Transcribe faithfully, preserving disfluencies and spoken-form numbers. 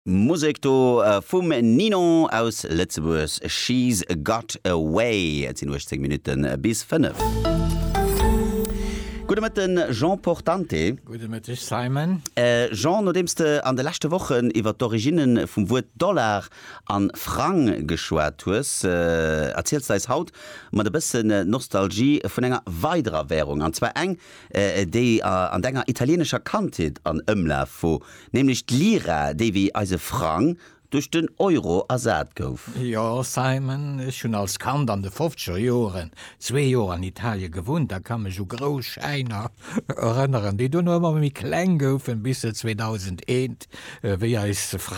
Musek do vum Ninon aus Lëtzebuerg, She's Got a Way. Et sinn uechtzéng Minutte bis fënnef. Gudde Mëtten, Jean Portante. Gudde Mëtteg, Simon. Jean, nodeems de an de leschte Wochen iwwer d'Originne vum Wuert Dollar an Frang geschwat hues, erziels de eis haut mat e bëssen Nostalgie vun enger weiderer Wärung, an zwar eng, déi an denger italienescher Kandheet an Ëmlaf wor, nämlech d'Lira, déi wéi eise Frang duerch den Euro ersat gouf. Jo, Simon, ech hunn als Kand an de fofzeger Joren zwee Joer an Italie gewunnt a ka mech u grouss Schäiner erënneren, déi duerno ëmmer méi kleng goufen, bis se zweedausendeent, wéi eis Frang